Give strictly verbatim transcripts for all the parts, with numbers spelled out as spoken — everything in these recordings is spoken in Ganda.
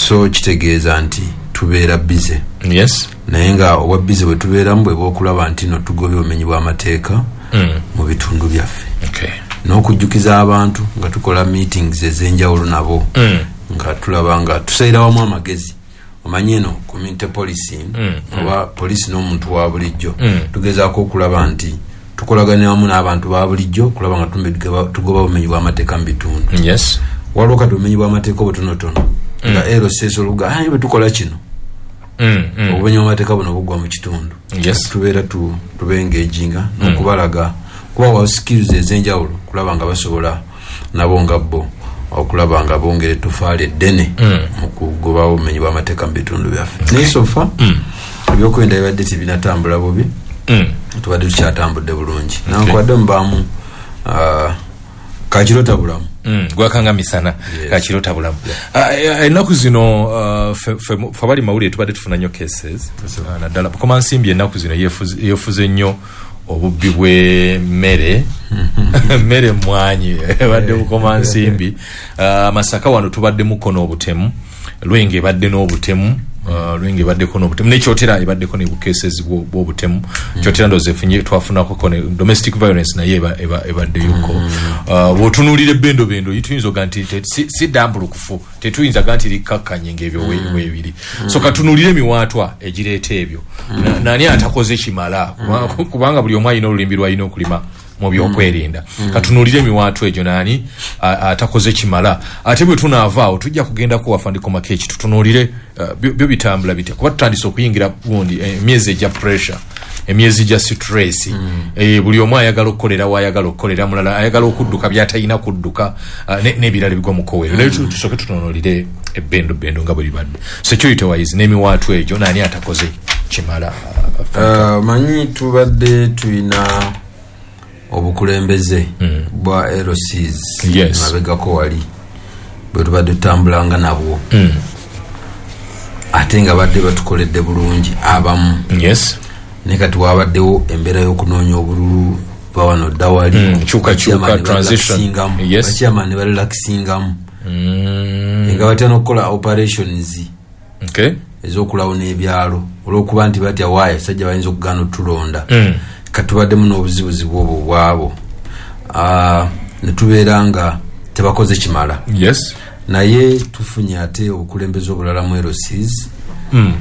So kitegeeza nti tubeera busy. Yes. Naye nga obwa busy bwe tubeeramu bwe bw'okulaba nti no tugobye obumenyi bw'amateeka mm. mu bitundu byaffe. Okay. N'okujjukiza abantu nga tukola meetings ez'enjawulo nabo mm. nga tulaba nga tusalira wamu amagezi. Omanyi eno community policing mm. oba poliisi n'omuntu wa bulijjo mm. tugezaako okulaba nti tukolagana wamu n'abantu ba bulijjo okulaba nga tugoba obumenyi bw'amateeka mu bitundu. Yes. Waliwo kati obumenyi bw'amateeka obutonotono mm. nga L C S oluga ayi bwe tukola kino mm, mm. obumenyi bw'amateeka buno bugwa mu kitundu. Yes. Tubeera tu tubengeginga n'okubalaga kubawa skills ez'enjawulo kulaba nga basobola nabo nga bo okulaba nga bongera ettofaali eddene mm. mu kugoba obumenyi bw'amateeka mu bitundu byaffe. Naye so far mm. ebyokwerinda bibadde tebinatambula bubi, mm. tubadde tukyatambudde bulungi. Okay. Nankwadde mubaamu uh, kakirota bulamu mm. gwakanga misana. Yes. Kakirota bulamu. Yeah. Uh, ennaku zino uh, fe abali mawulire tubadde tufuna nnyo cases uh, naddala Bukomansimbi ennaku zino yefuze nnyo obubbi bw'emmere mmere mmwanyi ebadde Bukomansimbi. uh, Masaka wano tubadde mukono obutemu, Lwenge ebadde n'obutemu, uh, Lwenge ebaddeko n'obutemu, ne Kyotera ebaddeko ne cases bw'obutemu. Kyotera ndowooza efunye twafunako ne domestic violence naye ebaddeyoko. uh, Bw'otunuulira ebbendobendo tuyinza oga nti si ddambulukufu, tetuyinza ga nti likkakkanye ng'ebyo weebiri. So katunuulire emiwaatwa egireeta ebyo. Nani atakoze kimala, kubanga buli omu alina olulimbi lw'alina okulima mu byokwerinda. Katunuulire emiwaatwa egyo, nani atakoze kimala. Ate bwe tunaavaawo tujja kugendako wafandiko Makechi tutunuulire byo bitambula bitya, kuba tutandise okuyingira gundi emyezi egya pressure, emyezi gya stress. mm. E, buli omu ayagala okukolera w'ayagala okukolera, mulala ayagala okudduka by'atalina kudduka, uh, n'ebirala bigwa mu kowero. mm. Naye tusooke tutunuulire ebbendobendo nga bwe libadde security wise n'emiwaatwa egyo, nani atakoze kimala. uh, manyi tubadde tulina obukulembeze mm. bwa L Cs. Yes. Mabegako wali bwe tubadde tutambulanga nabwo mm. ate nga badde batukoledde bulungi abamu. Yes. Naye kati wabaddewo embeera y'okunoonya obululu bawano ddawali mm. kyukakyuka transition. Yes. Bachairman ne barelaxingamu mm. nga batya n'okukola operations okay. ez'okulawuna ebyalo olw'okuba nti batya waayo abasajja bayinza okugaana otulonda. mm. Katubaddemu n'obuzibuzibu obwo bwabo, uh, ne tubeera nga tebakoze kimala. Yes. Naye tufunye ate obukulembeze obulala mu L Cs mm.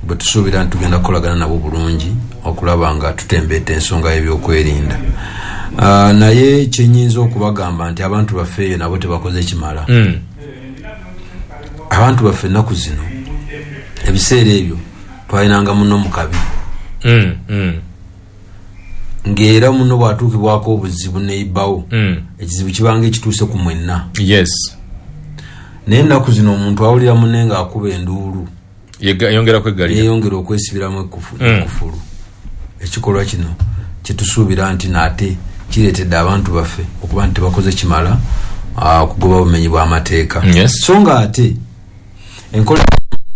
bwe tusuubira nti tugenda kukolagana nabo bulungi okulaba nga tutembeeta ensonga y'ebyokwerinda. Uh, naye kyenyinza okubagamba nti abantu baffe eyo nabo tebakoze kimala. mm. Abantu baffe ennaku zino ebiseera ebyo twalinanga muno mu kabi mm. mm. ng'era muno bw'atuukibwako obuzibu neibbawo mm. ekizibu kibanga ekituuse ku mwenna. Yes. Naye ennaku zino omuntu awulira munne ng'akuba enduulu yongera kweggalira, yeeyongera okwesibiramu ekkufulu. mm. Ekikolwa kino kyetusuubira nti naate kireetedde abantu baffe okuba nti tebakoze kimala okugoba obumenyi bw'amateeka. Yes. So nga ate enkola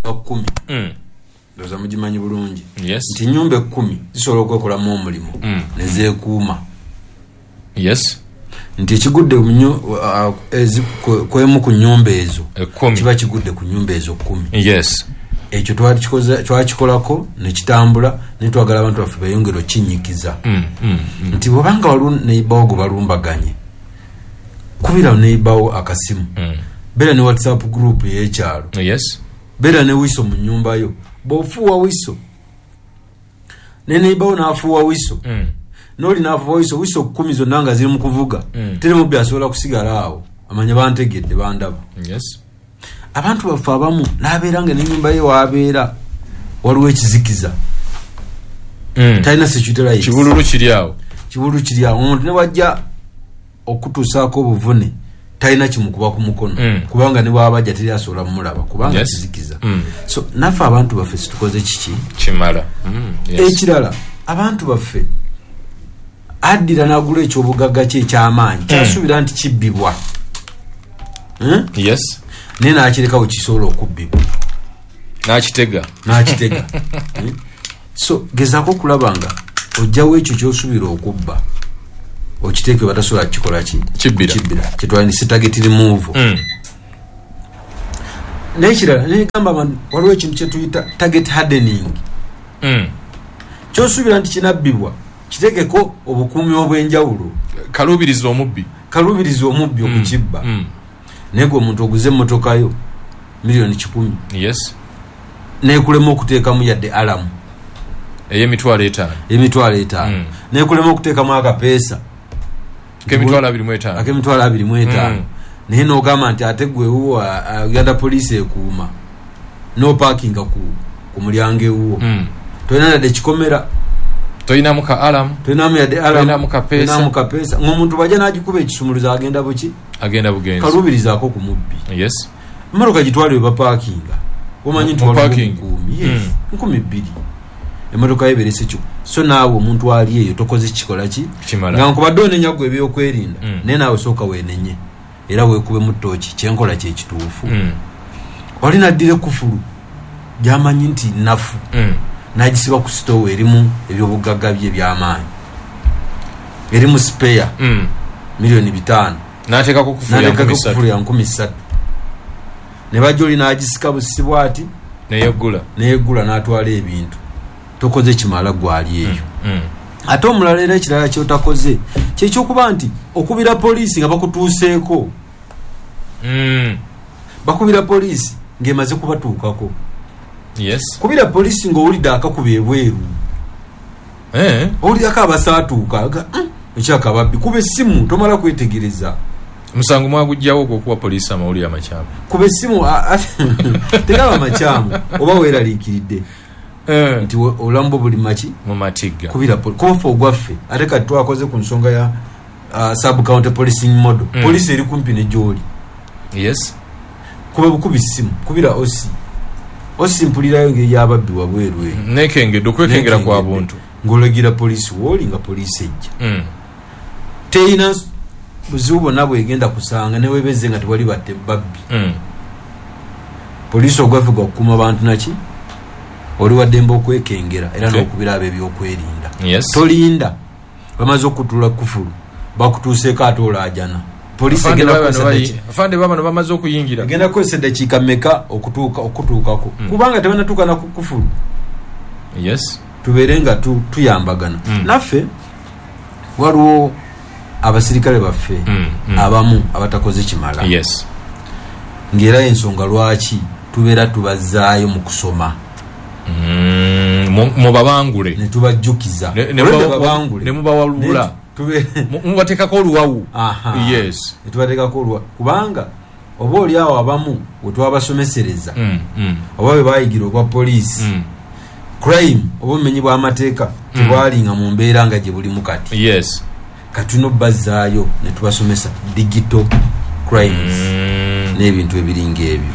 kkumi mm. ndowooza mugimanyi bulungi. Yes. Nti ennyumba ekkumi zisobola okwekolamu omulimu mm. ne zeekuuma. Yes. Nti ekigudde kwemu ku nnyumba ezo kiba kigudde ku nnyumba ezo kkumi. Yes. Ekyo twakikolako ne kitambula, ne twagala abantu baffe beeyongere okinyikiza. mm, mm, mm. Nti bw'obanga waliwo neighbour gwe balumbaganye, kubira neighbour akasimu. mm. Beera ne WhatsApp group ey'ekyalo. Yes. Beera ne wiso mu nnyumba yo. Bw'ofuuwa wiso ne neighbour n'afuuwa wiso mm. n'oli n'afuuwa wiso, wiso kkumi zonna nga ziri mu kuvuga, mm. teri mubbi asobola kusigala awo amanya bantegedde bandaba. Yes. Abantu baffe abamu n'abeera nga n'ennyumba ye w'abeera waliwo ekizikiza. mm. Talina security lights. Kibululu kiri awo, kibululu kiri awo. Omuntu ne wajja okutuusaako obuvune talina kimukuba ku mukono mm. kubanga ne bw'abajja teri asobola mumulaba kubanga Yes. kizikiza. mm. So naffe abantu baffe situkoze kiki kimala. mm. Yes. Ekirala abantu baffe addira n'agula ekyobugagga kye eky'amaanyi kyasuubira nti kibbibwa, hmm? Yes. Naye n'akireka we kisobola okubbibwa n'akitega n'akitega. Hmm? So gezaako okulaba nga ojjawo ekyo ky'osuubira okubba okiteeke batasobola kukikola ki Kibbira. Kibbira kyetwandise target removal. mm. N'ekirala negamba abantu, waliwo ekintu kyetuyita target hardening. Mm. Kyosuubira nti kinabbibwa, kitegeko obukuumi obw'enjawulo. Kaluubiriza omubbi. Kaluubiriza omubbi okukibba. Mm. Naye gwe omuntu oguze emmotoka yo miliyoni kikumi, Yes. nekulema okuteekamu yadde alarm ey'emitwalo etaano. Emitwalo etaano. Mm. Nekulema okuteekamu akapeesa k'emitwalo abiri mu etaano. Ak'emitwalo abiri mu etaano. Mm. Naye n'ogamba nti ate gwe ewuwo, a-, a-, Uganda Police ekuuma, n'opaakinga ku, ku mulyango ewuwo. Mm. Tolina yadde kikomera. Tolinamu ka alarm. Tolinamu yadde alarm. Tolinamu kapeesa. Tolinamu kapeesa. Ng'omuntu bw'ajja n'agikuba ekisumuluzo agenda buki? Agenda bugenzi. Kaluubirizaako ku mubbi. Yes. Emmotoka gitwale we bapaakinga. Omanyi nti Mu waliwo parking. omukuumi. Yes. Mm. Nkumi bbiri. Emmotoka yo eberese kyo. So naawe omuntu ali eyo tokoze kikola ki? Kimala. Nga nkubadde onenya ggwe ebyokwerinda. Mm. Naye naawe sooka weenenye. Era weekubemu ttooki, kyenkola kye kituufu. Mm. Oli n'addira ekkufulu gy'amanyi nti nnafu. Mm. N'agisiba ku sitoowa erimu ebyobugagga bye eby'amaanyi. Erimu spare. Mm. Miliyoni bitaano. N'ateekako kufulu ya N'ateekako nkumi ssatu. kufulu ya nkumi ssatu. Ne bajja oli n'agisika busibwa ati. Neyeggula. Neyeggula n'atwala ebintu. Tokoze kimala gwali eyo. Mm. Mm. Ate omulala era ekirala ky'otakoze kyekyokuba nti okubira poliisi nga bakutuuseeko. Mm. Bakubira poliisi ng'emaze kubatuukako. Yes. Kubira poliisi ng'owulidde akakuba ebweru. Eh. Owulirako abasaatuuka, aga, mm, ekyaka ababbi. Kuba essimu tomala kwetegereza. Musango mwagugyawo ogw'okuwa poliisi amawulire amakyamu. Kuba essimu, a-, a-, tegaba makyamu oba weeraliikiridde. Eh. Nti we-, obulamu bwo buli maki? Mu matigga. Kubira poli-, kuba ffe ogwaffe ate kati twakoze ku nsonga ya, uh, sub county policing model. Mm. Poliisi eri kumpi ne gy'oli. Yes. Kuba bukubi ssimu, kubira O C. O C mpulirayo engeri y'ababbi wabweru eyo. Nekengedde, okwekengera kwa Nekengedde. buntu. Ng'olagira poliisi w'oli nga poliisi ejja. Mm. Terina buzibu bwonna bw'egenda kusanga ne weebezze nga tewali batte babbi. Mm. Poliisi ogwaffe gwa kukuuma bantu naki? Oli wa ddembe okwekengera era Okay. n'okubira ab'ebyokwerinda. Yes. Tolinda. Bamaze okutula kufulu. Bakutuuseeko ate olaajana. Poliisi Afande egenda baba kukozesa bano bayi- ddakiika. Afande baba bano bamaze okuyingira. Egenda kukozesa eddakiika mmeka okutuuka, okutuukako? Mm. Kubanga tebannatuuka na ku kufulu. Yes. Tubeere nga tu-, tuyambagana. Mm. Naffe waliwo abasirikale baffe Mm, mm. abamu abatakoze kimala. Yes. Ng'era ensonga lwaki tubeera tubazzaayo mu kusoma. Mm, mu-, mubabangule. Ne tubajjukiza. Ne-, ne Olwedde muba-, babangule. ne mubawalula. Ne tube- Mu-, mubateekako oluwawu. Aha. Yes. Ne tubateekako oluwawu. Kubanga oba oli awo abamu we twabasomesereza. Mm, mm. Oba bwe baayigira obwa poliisi. Mm. Crime oba obumenyi bw'amateeka Mm. tebwalinga mu mbeera nga gye bulimu kati. Yes. Kati tulina obbazaayo ne tubasomesa digital crimes. Mm. N'ebintu ebiringa ebyo.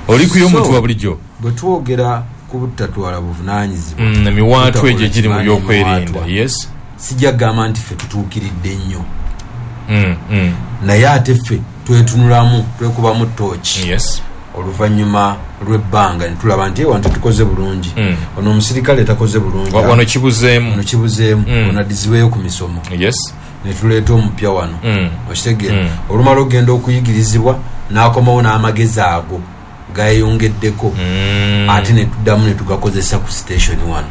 Oli ku y'omuntu So, wa bulijjo. bwe twogera ku butatwala buvunaanyizibwa, Mm, emiwaatwa egyo egiri mu tutakola byokwerinda. emiwaatwa. Yes. Sijja kugamba nti ffe tutuukiridde nnyo. Mm, mm. Naye ate ffe twetunulamu, twekubamu ttooki. Yes. Oluvannyuma lw'ebbanga ne tulaba nti, eh, wano tetukoze bulungi. Mm. Ono omusirikale takoze bulungi. Wa-, wano kibuzeemu. Wano kibuzeemu. Mm. Ono addizibweyo ku misomo. Yes. Ne tuleeta omupya wano. Mm. Okitegeera? Mm. Olumala okugenda okuyigirizibwa n'akomawo n'amagezi ago gayongeddeko. Mm. Ate ne tuddamu ne tugakozesa ku station wano.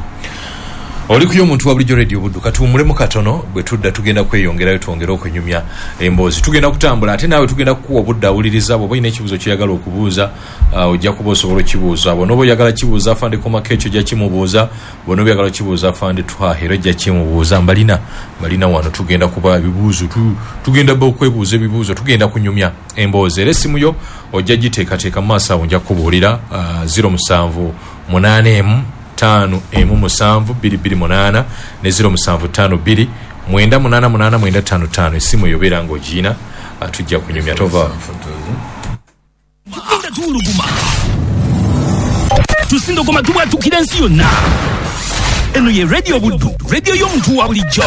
Oli ku y'omuntu wa bulijjo Radio Buddu, katuwummulemu katono, bwe tudda tugenda kweyongerayo twongere okunyumya emboozi. Tugenda kutambula ate naawe tugenda kukuwa obudde awuliriza, bw'oba olina ekibuuzo ky'oyagala okubuuza, ah, ojja kuba osobola okukibuuza. Bw'onooba oyagala kibuuza Afande Komako ekyo ojja kimubuuza, bw'onooba oyagala kibuuza Afande Twaha era ojja kimubuuza. Mbalina, mbalina wano tugenda kuba ebibuuzo, tu-, tugenda ba okwebuuza ebibuuzo, tugenda kunyumya emboozi. Era essimu yo ojja giteekateeka mu maaso awo nja kukubuulira, ah, ziro musanvu munaana emu ttaano emu musanvu bbiri bbiri munaana ne ziro musanvu ttaano bbiri mwenda munaana munaana mwenda ttaano ttaano. Essimu eyo obeera ng'ogiina, ah, tujja kunyumya. Tova. Tugenda tuwuluguma. Tusindogoma tubwatukira ensi yonna. Eno ye Radio Buddu, radio y'omuntu wa bulijjo.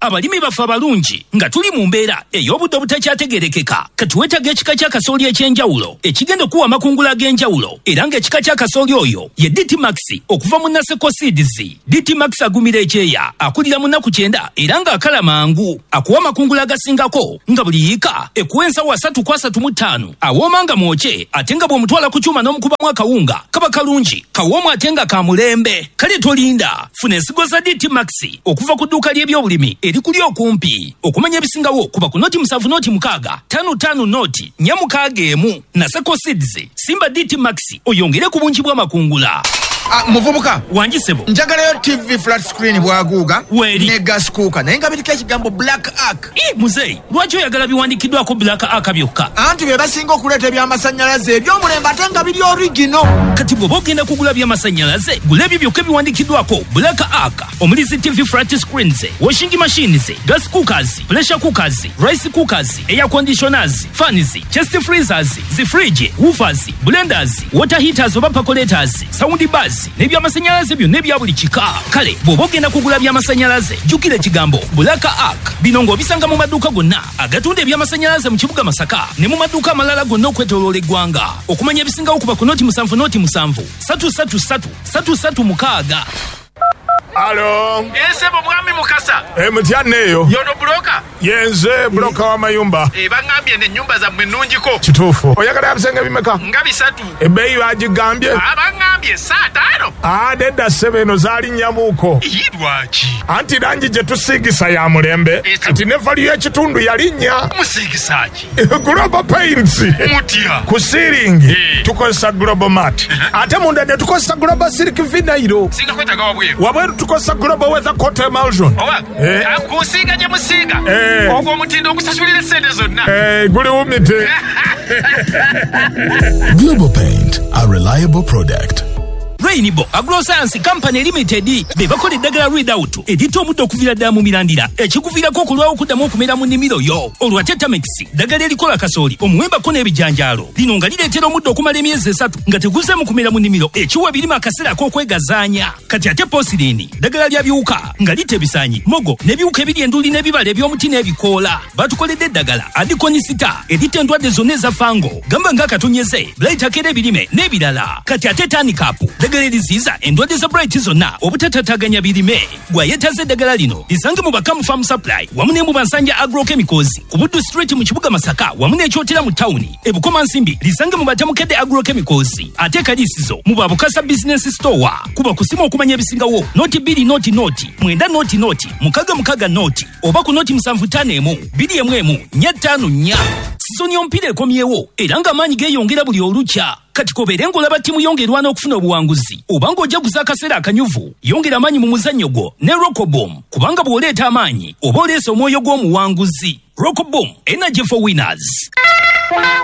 Abalimi baffe abalungi nga tuli mu mbeera ey'obudde obutakyategeerekeka, kati weetaaga ekika kya kasooli eky'enjawulo ekigenda okuwa amakungula ag'enjawulo, era ng'ekika kya kasooli oyo ye D T Max okuva mu Naseko Seeds. D T Max agumira ekyeya, akulira mu nnaku kyenda era ng'akala mangu, akuwa amakungula agasingako nga buli yiika ekuwa ensawo asatu ku asatu mu ttaano, awooma nga mwokye ate nga bw'omutwala ku kyuma n'omukubamu akawunga kaba kalungi, kawoomu ate nga ka mulembe. Kale tolinda, funa ensigo za D T Max okuva ku dduuka ly'ebyobulimi erikuli okumpi. Okumanya ebisingawo kuba ku noti musanvu noti mukaaga tano tano noti nnya mukaaga emu. Naseko Seeds, simba D T Max oyongere ku bungi bw'amakungula. Ah, muvubuka wangisebo, njagalayo T V flat screen bwaguuga ne gas cooker naye nga biriko ekigambo Black Ark. Ii muzeeyi, lwaki oyagala biwandiikiddwako Black Ark byokka? Anti be basinga okuleeta ebyamasannyalaze eby'omulembe ate nga biri original. Kati bw'oba ogenda kugula byamasannyalaze, gula ebyo byokka ebiwandiikiddwako Black Ark, omuli zi T V flat screens, washing machines, gas cookers, pressure cookers, rice cookers, air conditioners, fans, chest freezers, zi fridge, woofers, blenders, water heaters oba percolators, sound bars n'ebyamasannyalaze byonna ebya buli kika. Kale bw'oba ogenda kugula byamasannyalaze, jjukira ekigambo Black Ark. Bino ng'obisanga mu maduuka gonna agatunda ebyamasannyalaze mu kibuga Masaka ne mu maduuka amalala gonna okwetooloola eggwanga. Okumanya ebisingawo kuba ku noti musanvu noti musanvu satu satu satu satu satu mukaaga. Alo. Ese bo mwami Mukasa. Eh, mutya neyo. Yono broka. Yenze broka wa mayumba. Eh, bangambye ne nyumba za mwenunjiko. Kituufu. Oyagala abisenge bimeka? Nga bisatu. Ebbeeyi bagigambye. Ah, bangambye saa tano. Ah, nedda ssebe eno zaali nnyamuuko. Lwaki? Anti langi gye tusiigisa ya mulembe. Kati ne value y'ekitundu yalinnya. Musiigisa ki? Global Paints. Mutya. Ku ceiling tukozesa Global Mat. Ate munda ne tukozesa Global Silk Vinyl. Singa kwetaaga wabweru. Wabweru tukozesa Global Weather Coat Emulsion. Oba, kusiiga gye musiiga. Ogwo omutindo ogusasulira essente zonna. Eh, guli wumite. Global Paint, a reliable product. Rainbow Agroscience Company Limited be bakola eddagala Readout erita omuddo okuviira ddala mu mirandira ekikuviirako okulwawo okuddamu okumera mu nnimiro yo. Olwa Tetamix, ddagala erikola kasooli, omuwembako n'ebijanjaalo. Lino nga lireetera omuddo okumala emyezi esatu nga teguzeemu kumera mu nnimiro, ekiwa ebirime akaseera ak'okwegazaanya. Kati ate Posirini, ddagala lya biwuka nga litta ebisaanyi, mogo n'ebiwuka ebiri enduli n'ebibala eby'omuti n'ebikoola. Batukoledde eddagala Adikonisita eritta endwadde zonna eza fango, gamba ng'akatonyeze, blight akera ebirime n'ebirala. Kati ate Tanicap, ddagala eriziyiza endwadde za blight zonna obutatataganya birime. Gwayetaze eddagala lino lisange mu Bakamu Farm Supply wamu ne mu Bansanja Agrochemicals ku Buddu Street mu kibuga Masaka wamu n'ekyotera mu tawuni e Bukomansimbi, lisange mu Batamukedde Agrochemicals ate Kalisizo mu Babukasa Business Store. Kuba kusimu okumanya ebisingawo noti bbiri noti noti mwenda noti noti mukaga mukaga noti oba ku noti musanvu ttaano emu bbiri emu emu nnya ttaano nnya. Sizoni y'omupiira ekomyewo era ng'amaanyi geeyongera buli olukya. Kati kobeere ng'olaba ttiimu yongerwa n'okufuna obuwanguzi oba ng'ojaguza akaseera akanyuvu, yongera amaanyi mu muzannyo gwo ne Rockobom, kubanga bw'oleeta amaanyi oba oleese omwoyo gw'omuwanguzi. Rockobom, energy for winners.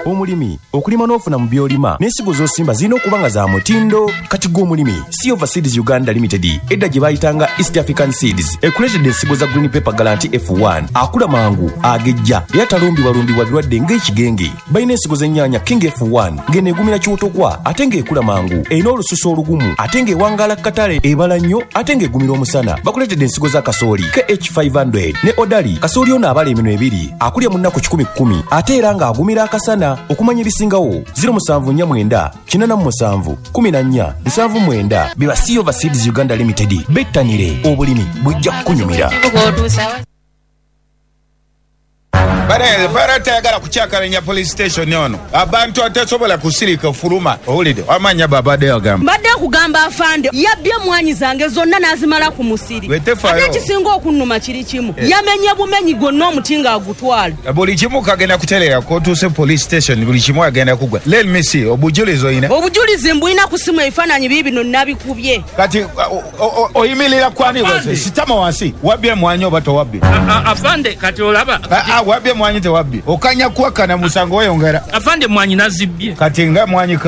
Omulimi okulima n'ofuna mu by'olima n'ensigo z'osimba zirina okuba nga za mutindo. Kati gwe omulimi, Silver Seeds Uganda Limited edda gye bayitanga East African Seeds ekuleetedde ensigo za Green Pepper Guarantee F one, akula mangu, agejja era talumbibwalumbibwa birwadde ng'ekigenge. Balina ensigo z'ennyaanya King F one ng'eno egumira kiwotokwa ate ng'ekula mangu, erina olususu olugumu ate ng'ewangaala katale, ebala nnyo ate ng'egumira omusana. Bakuleetedde ensigo za kasooli K H five hundred ne Odali. Kasooli ono abala eminwe ebiri, akulya mu nnaku kikumi kkumi ate era ng'agumira akasana. Okumanya ebisingawo zero musanvu nnya mwenda kinaana mu musanvu kumi na nnya nsanvu mwenda. Biba Silver Seeds Uganda Limited, bettanire obulimi bujja kukunyumira. Bare bare tayagala kucyakalanya police station yono. Abantu atasobola kusirika fuluma. Owulidde amanya babadde agamba. Mbadde kugamba afande yabbye mwanyi zange zonna n'azimala ku musiri. Ate ekisinga okunnuma kiri kimu. Eh. Yamenye bumenyi gwonna omuti ng'agutwala. Buli kimu kagenda kuterera kotuuse police station, buli kimu agenda kugwa. Let me see obujulizi oyina. Obujulizi mbulina ku simu, ebifaananyi biibino nabikubye. Kati oyimirira kwani wose sitama wansi wabbye mwanyi oba towabbye? Afande kati olaba. Ah, wabbye mwanyi tewabbye. Okanya kuwakana musango weyongera. Afande mwanyi nazibbye. Kati nga mwanyi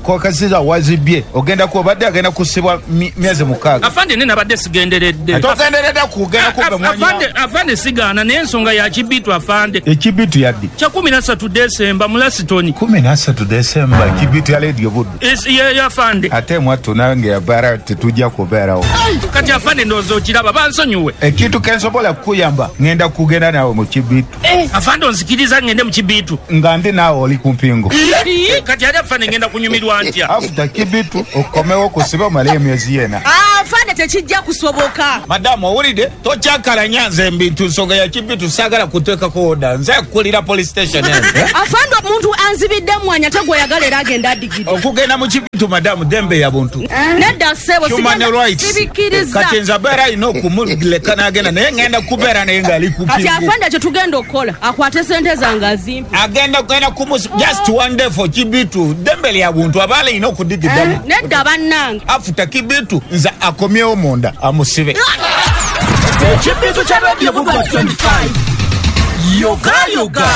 kokasiza wazibbye ogenda Ekindako obadde agenda kusibwa myezi mukaaga. Afande ne nabadde sigenderedde. Togenderedde kugenda kubba mwanya. Afande afande sigaana naye ensonga ya kibitu afande. Ekibitu yaddi? Kya kumi na ssatu Desemba mu Lasitoni. Kumi na ssatu Desemba kibitu ya Radio Buddu. Ye afande. Ate mwattu nange yabara tetujja kubeerawo. Kati afande ndowooza okiraba bansonyiwe. Ekintu kensobola kukuyamba ngenda kugenda naawe mu kibitu. Afande onzikiriza ngende mu kibitu. Nga ndi naawe oli ku mpingo. Kati ate afande ngenda kunyumirwa ntya? After kibitu okomewo kusiba omale emyezi ena. Afande tekijja kusoboka. Madamu owulidde tokyakalanya nze mbintu nsonga ya kibitu saagala kuteekako oda nze kukulira police station eno. Afande omuntu anzibidde mwanya ate gw'oyagala era agenda adigidde. Okugenda mu kibitu madamu dembe ya buntu. Nedda ssebo sibikkiriza. Kati nze abeera alina okumuleka n'agenda naye ngenda kubeera naye ng'ali ku mpingu. Kati afande kye tugenda okukola akwate sente zange azimpe. Agenda kugenda kumus just one day for kibitu dembe lya buntu abaala alina okudigiddamu. Nedda bannange. Afuta kibitu nze akomyewo munda amusibe. Ekibitu kya Radio Buddu twenty-five. Yoga yoga.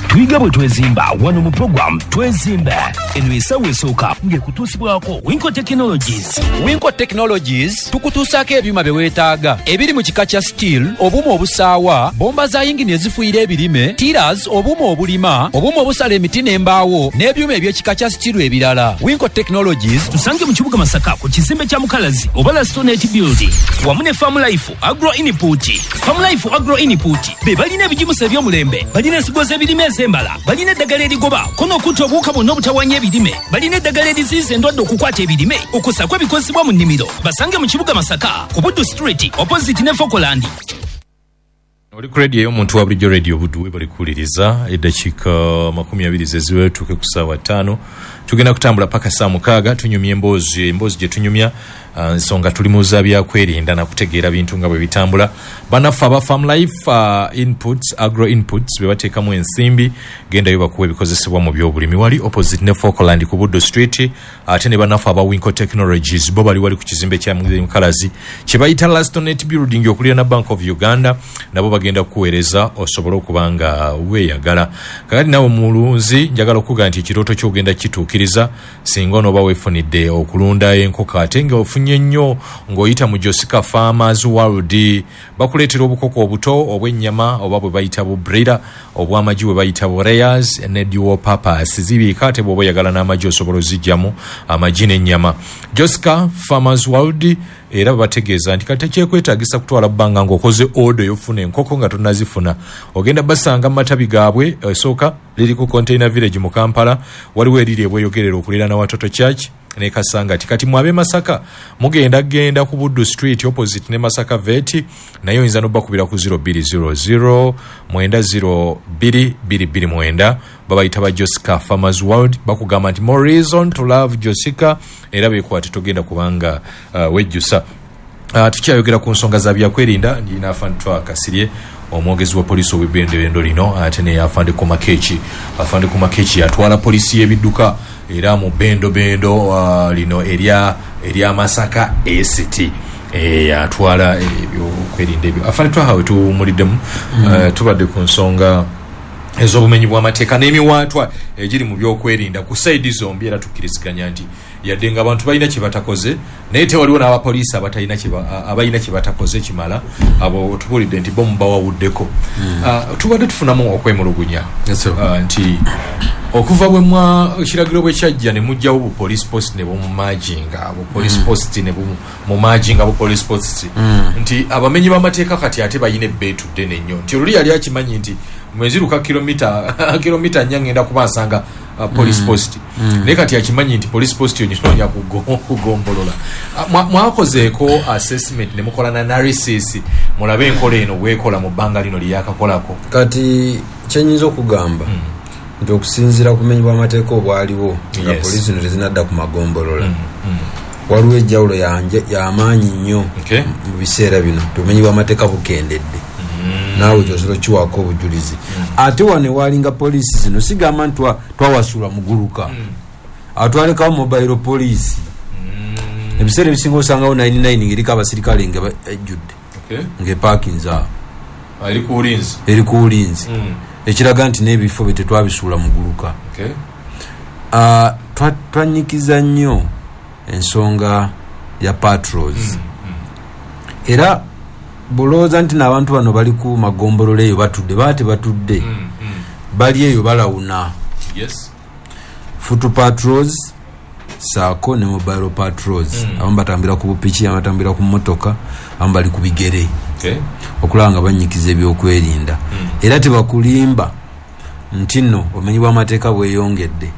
Tuyiga bwe twezimba wano mu program Twezimba. Eno essaawa esooka ng'ekutuusibwako Winco Technologies. Winco Technologies tukutuusaako ebyuma bye weetaaga ebiri mu kika kya steel, obuuma obusaawa, bomba za yingini ezifuuyira ebirime, tillers, obuuma obulima, obuuma obusala emiti n'embaawo n'ebyuma eby'ekika kya steel ebirala. Winco Technologies tusange mu kibuga Masaka ku kizimbe kya Mukalazi oba Lastonet Building wamu ne Farm Life Agro Input. Farm Life Agro Input be balina ebigimusa eby'omulembe, balina ensigo z'ebirime ez'embala, balina eddagala erigoba kono okutta obuwuka bwonna obutawaanya ebirime, balina eddagala eriziyiza endwadde okukwata ebirime okussaako ebikozesebwa mu nnimiro. Basange mu kibuga Masaka ku Buddu Street opposite ne Fokoland. Oli ku radio y'omuntu wa bulijjo Radio Buddu webale kuwuliriza eddakiika makumi abiri zeziwera tutuuke ku ssaawa ttaano. Tugenda kutambula paka saa mukaaga tunyumya emboozi emboozi gye tunyumya nsonga tuli mu za byakwerinda na kutegeera bintu nga bwe bitambula. Bannaffe aba Farm Life uh, Inputs, Agro Inputs be bateekamu ensimbi gendayo bakuwa ebikozesebwa mu byobulimi wali opposite ne Falkland ku Buddu Street. Ate ne bannaffe aba Winco Technologies bo bali wali ku kizimbe kya Mukalazi kye bayita Lastonet Building okuliraana Bank of Uganda, nabo bagenda kukuweereza osobole okuba nga weeyagala. Kakati nawe mulunzi njagala okuga nti ekirooto ky'ogenda kituukiriza singa onooba weefunidde okulunda enkoko ate nga ofunye nnyo ng'oyita mu Jessica Farmers World bakuleetera obukoko obuto obw'ennyama oba bwe bayita bu breeder, obw'amagi bwe bayita bu layers ne dual purpose zibiika ate bw'oba oyagala n'amagi osobola oziggyamu amagi n'ennyama. Jessica Farmers World era babategeeza nti kati tekyekwetaagisa kutwala bbanga ng'okoze order y'ofuna enkoko nga tonnazifuna. Ogenda basanga mu matabi gaabwe esooka liri ku Container Village mu Kampala, waliwo eriri ebweyogerera okuliraana Watoto Church ne Kasangati. Kati mwabe Masaka mugenda genda ku Buddu Street opposite ne Masaka Vet, naye oyinza n'obbakubira ku zero bbiri zero zero mwenda zero bbiri bbiri bbiri mwenda. Babayita ba Jessica Farmers World, bakugamba nti more reason to love Jessica, era beekwate togenda kubanga uh, wejjusa. Uh, tukyayogera ku nsonga za byakwerinda ndina Afande Twaha Kasirye omwogezi wa poliisi ow'ebbendebendo lino, ate ne Afande Komakech. Afande Komakech yatwala poliisi y'ebidduka era mu bendobendo uh, lino erya erya Masaka A C T atwala ebyokwerinda ebyo. Afande Twaha we tuwumuliddemu mm. uh, tubadde ku nsonga ez'obumenyi bw'amateeka n'emiwaatwa egiri mu byokwerinda ku saidi zombi, era tukkiriziganya nti yadde nga abantu balina kye batakoze naye tewaliwo n'abapoliisi abatalina abalina kye batakoze kimala, abo tubuulidde nti bo mubawawuddeko. mm. uh, tubadde tufunamu okwemulugunya yes, uh, nti okuva bwe mwa ekiragiro bwe kyajja ne mujjawo bu police post ne bumumajinga bu police mm. post ne bumumajinga bu police post mm. nti abamenyi b'amateeka kati ate balina ebbeetu ddene nnyo nti oluli yali akimanyi nti mweziruka kilomita kilomita nnya ngenda kuba nsanga uh, police mm. post mm. naye kati akimanyi nti police post yo nyinoonya kugombolola. Mwakozeeko assessment ne mukola na analysis mulabe enkola eno bwekola mu bbanga lino lyeyakakolako? Kati kyenyinza okugamba mm. nti okusinziira ku bumenyi bw'amateeka obwaliwo nga yes. poliisi no tezinadda ku magombolola mm. mm. waliwo ejjawulo y'amaanyi nnyo okay. mu biseera bino obumenyi bw'amateeka bukendedde mm. naawe kyosobola okiwaako obujulizi mm. ate wano walinga poliisi zino sigamba nti twawasula muguluka mm. atwalekawo mobile police mm. ebiseera ebisinga osangawo nine nine ng'eriko abasirikale nga ejjudde okay. ng'epaakinze awo eri ku bulinzi eri ku bulinzi mm. Ekiraga nti n'ebifo bye tetwabisuula muguluka. Okay. Uh, twanyikiza nnyo ensonga ya patrols. Mm, mm. Era bulowooza nti n'abantu bano bali ku magombolola eyo batudde, baba tebatudde. Mm, mm. Bali eyo balawuna. Yes. Foot patrols saako ne mobile patrols. Mm. Abamu batambira ku bupiki, abamu batambira ku mmotoka, abamu bali ku bigere. Okay. Okulaba nga banyikiza ebyokwerinda. Mm. Era tebakulimba nti nno obumenyi bw'amateeka bweyongedde.